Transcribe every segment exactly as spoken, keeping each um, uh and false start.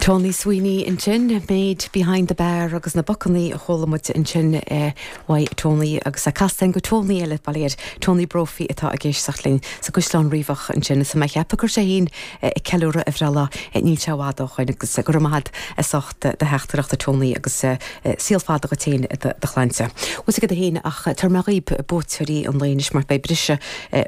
Tony Sweeney ansin Maid Behind the Bar agus na bacannaí a chuala muid ansin uaidh Tony agus a castain go Tony eile baléir Tony Brophy atá ag éisteacht linn sa gCaisleán Riabhach ansin is mé cheapadh gur sé féin ag ceiliúradh a bhreithlá níl sé i bhfad ó shin agus gur maith as ucht do theachtaireacht a Tony agus saol fada duit féin do chlannsa. Us go héin ach tar me riib bóterí an léis mar bei brise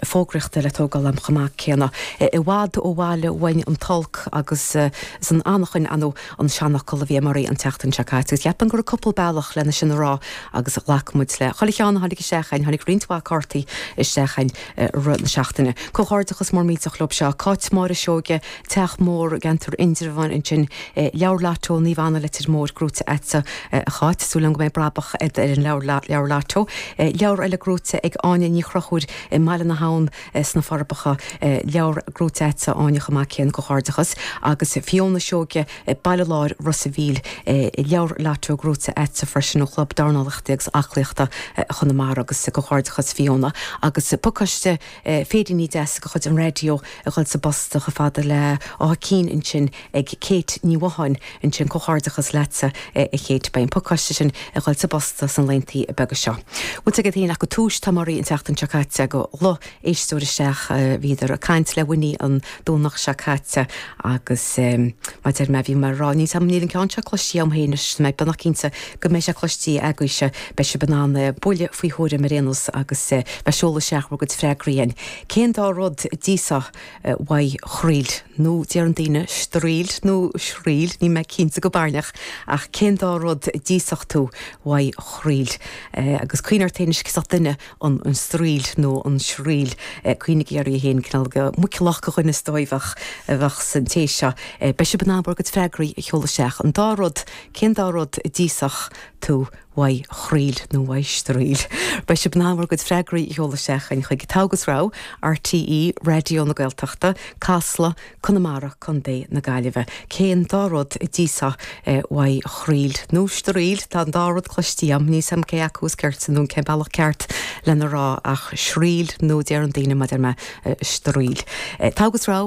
fógraíochta le tógáil am chomh maith céanna. I bhfad ó bhaile uainn an t-olc agus san anachain anú an seanfhocal a bhí marí an tseachtain seo caite. Agus cheapaim gur cúpla bealach lena sin rá agus ghlac muid le chuile cheann tháinig isteach tháinig roinnt mhaith cártaí isteach rith na seachtaine. Comhghairdeachas mór millteach leo seo Cáit Máire Seoige Teach Mór Ceantar Indreabhán ansin leabhar Lotto Naomh Anna Leitir Móir gnóite agatsa a Cháit súil go mbeidh brabach ar an leabhar leabhar Lotto. Leabhar eile gnóite ag Áine Ní Chrochúir i mBaile na hAbhann sna Forbacha leabhar gnóite agatsa Áine chomh maith céanna comhghairdeachas agus Fiona Seoige Baile Láir Ros an Mhíl leabhar Lotto gnóite agatsa freisin ó chlub dornálaíochta agus aclaíochta Chonamara agus comhghairdeachas Fiona agus pacáiste féiríní deas de chuid an raidió a dhul sa bpost chomh fada le Áth Cinn ansin ag Kate Ní Mhatháin ansin comhghairdeachas leatsa a Kate beidh an pacáiste sin a dhul sa bpost sna laethanta beaga seo. Bhuel go héin ach go túis tá marí an tseachtain seo caite go lo éisteoir isteach bhíodar ag caint le Winnie an Domhnach seo caite agus maidir me bhí mar rá ní sam níl an ceann seo cloiste agam féin mé beagnach cinnte go mbeidh sé cloiste agaibhse beidh sibh in ann buille faoi thuairim ar aon nós agus beidh seoladh isteach bhur gcuid freagraí. Cén dá rud a d'íosfá uaidh chroíl nó deir an daoine straoil nó sraoil ní mé cinnte go baileach ach cén dá rud a d'íosfadh tú uaidh chroíl agus cuimhnigh ort féin duine an an straoil nó an sraoil cuimhnigh air féin cineál go muiceallach go dhuine stóimheach a bheadh san té seo. Beidh sibh in ann bhur gcuid freagraí a sheoladh isteach an dá rud cén dá rud a d'íosfadh tú uaidh chroíl nó uaidh straoil. Beidh sibh in ann bhur gcuid freagraí a sheoladh isteach chuig Togha agus Rogha RTÉ Raidió na Gaeltachta, Casla, Conamara Contae na Gaillimhe. Cén dá rud a d'íosfá uaidh chroíl nó straoil tá an dá rud cloiste agam níl a fhios agam cé acu is ceart nó cén bealach ceart lena rá ach sraoil nó deir an daoine maidir me straoil. Togha agus Rogha